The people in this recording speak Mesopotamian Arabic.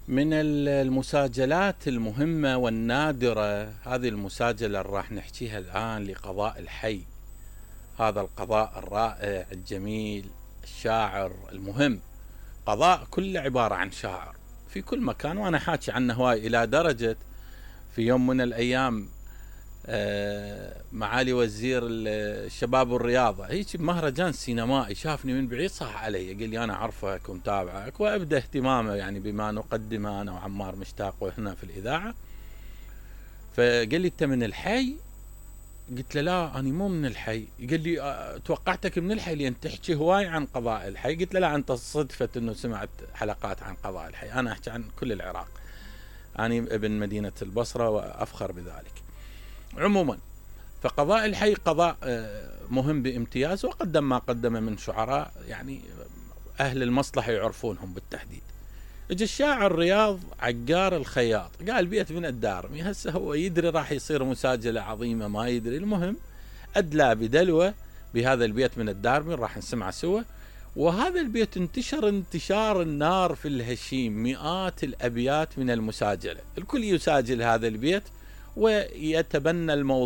من المساجلات المهمة والنادرة هذه المساجلة اللي راح نحكيها الآن لقضاء الحي. هذا القضاء الرائع الجميل الشاعر المهم، قضاء كله عبارة عن شاعر في كل مكان، وأنا حاكي عنه هواي، إلى درجة في يوم من الأيام معالي وزير الشباب والرياضة هيك بمهرجان سينمائي شافني من بعيد، صاح علي قال لي أنا أعرفك ومتابعك، وأبدأ اهتمامه يعني بما نقدمه أنا وعمار مشتاق وهنا في الإذاعة. فقال لي أنت من الحي؟ قلت له لا أنا مو من الحي. قال لي توقعتك من الحي لأن تحكي هواي عن قضاء الحي. قلت له لا، أنت صدفة أنه سمعت حلقات عن قضاء الحي، أنا أحكي عن كل العراق، أنا ابن مدينة البصرة وأفخر بذلك. عموما فقضاء الحي قضاء مهم بامتياز، وقدم ما قدم من شعراء يعني أهل المصلحة يعرفونهم بالتحديد. اجى الشاعر رياض عقار الخياط قال بيت من الدارمي، هسه هو يدري راح يصير مساجلة عظيمة ما يدري، المهم أدلى بدلوة بهذا البيت من الدارمي راح نسمعه سوا. وهذا البيت انتشر انتشار النار في الهشيم، مئات الأبيات من المساجلة، الكل يساجل هذا البيت ويتبنى الموضوع